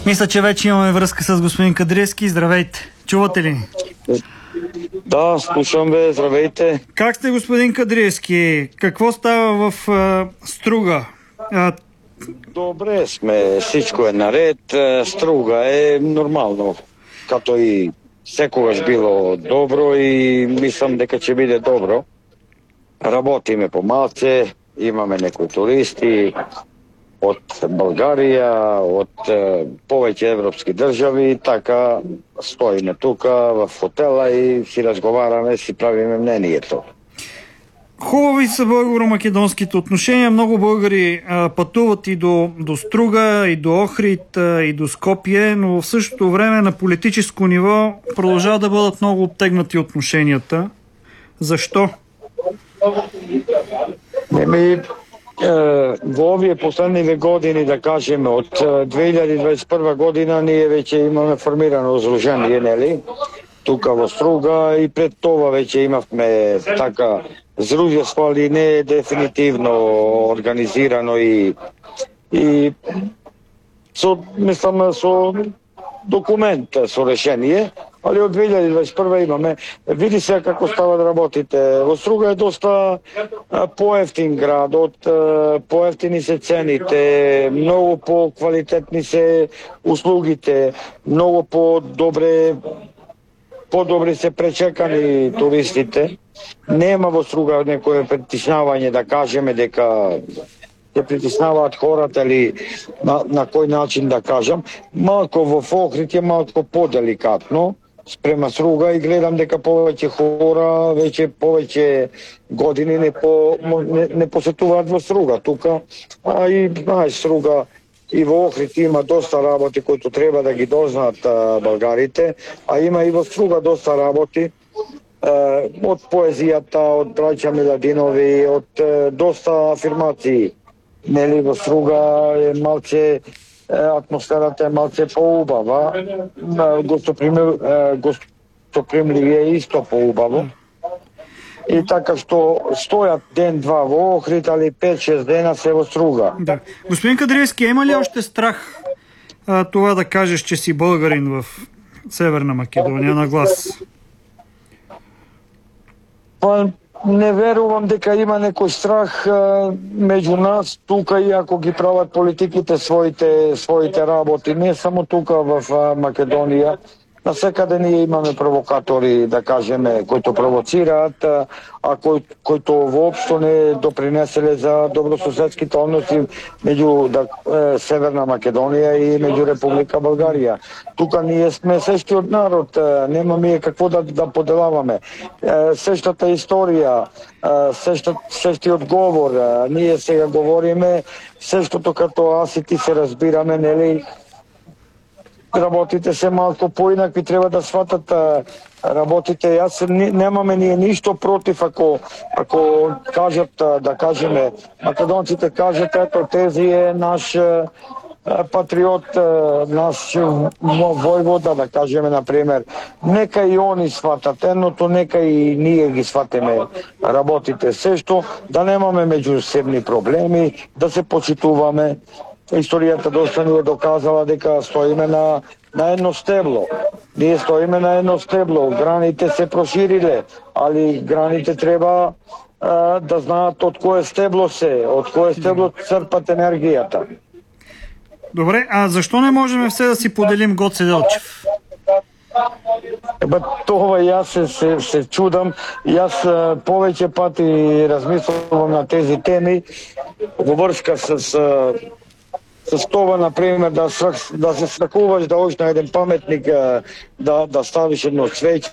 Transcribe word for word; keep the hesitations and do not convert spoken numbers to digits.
Мисля, че вече имаме връзка с господин Кадревски. Здравейте. Чувате ли? Да, слушам бе, здравейте. Как сте, господин Кадревски? Какво става в а, Струга? А... Добре сме, всичко е наред. Струга е нормално, като и секогаш било добро и мислам дека ќе биде добро. Работиме по малце, имаме некои туристи од Българија, од е, повеќе европски држави, така стоиме тука в хотела и си разговараме, си правиме мнението. Хубави са българо-македонските отношения. Много българи а, пътуват и до, до Струга, и до Охрид, а, и до Скопие, но в същото време на политическо ниво продължават да бъдат много обтегнати отношенията. Защо? Еми, во овие последниве години, да кажеме, од две илјади дваесет и прва година ние веќе имаме формирано здружение, нели? Тука во Струга и пред това веќе имавме така здружество, али не е дефинитивно организирано и и со, мислам, со документ, со решение, али од две илјади дваесет и прва имаме. Види се како стават работите. Во Струга е доста поевтин град, од поевтини се цените, многу по-квалитетни се услугите, многу по-добре подобри се пречекани туристите. Нема во Струга некое притиснавање да кажеме дека се притиснаваат хората или на, на кој начин да кажам. Малко во Охрид е малко поделикатно спрема Струга и гледам дека повеќе хора веќе повеќе години не, по, не, не посетуваат во Струга тука, а и знаеш Струга и во Охрид има доста работи кои треба да ги дознаат а, българите, а има и во Струга доста работи а, од поезијата, од браќа Миладинови, од а, доста афирмации. Нели во Струга е малце атмосферата е малце поубава, гостопримливие е исто поубаво. И така што стојат ден-два во Охрид, али пет-шест дена се во Струга. Да. Господин Кадревски, има ли още страх а, това да кажеш, че си българин в Северна Македонија на глас? Па не верувам дека има некој страх а, меѓу нас тука, и ако ги прават политиките своите своите работи, не само тука в а, Македонија. Насекаде ние имаме провокатори, да кажеме, кои провоцираат, а кои, кои воопшто не допринеселе за добрососедските односи меѓу да, е, Северна Македонија и меѓу Република Българија. Тука ние сме сештиот народ, е, нема ние какво да, да поделаваме. Е, сештата историја, е, сештат, сештиот говор, е, ние сега говориме сештото като аз и ти се разбираме, нели? Работите се малко поинакви, треба да сватат а, работите. Јас немаме ние ништо против ако ако кажат, а, да кажеме, македонците кажат, ето тези е наш а, патриот, а, наш војвода, да кажеме, например. Нека и они сватат едното, нека и ние ги сватеме работите. Се што да немаме меѓусебни проблеми, да се почитуваме. Историјата доста ни е доказала дека стоиме на, на едно стебло. Ние стоиме на едно стебло. Граните се прошириле, али граните треба а, да знаат од кое стебло се, од кое стебло црпат енергијата. Добре, а защо не можем все да си поделим Гоце Делчев? Еба, това јас се, се, се чудам. Јас а, повеќе пати размислувам на тези теми во врска с а, С това, например, да, да се страхуваш да ош на еден паметник, да, да ставиш едно цвеќе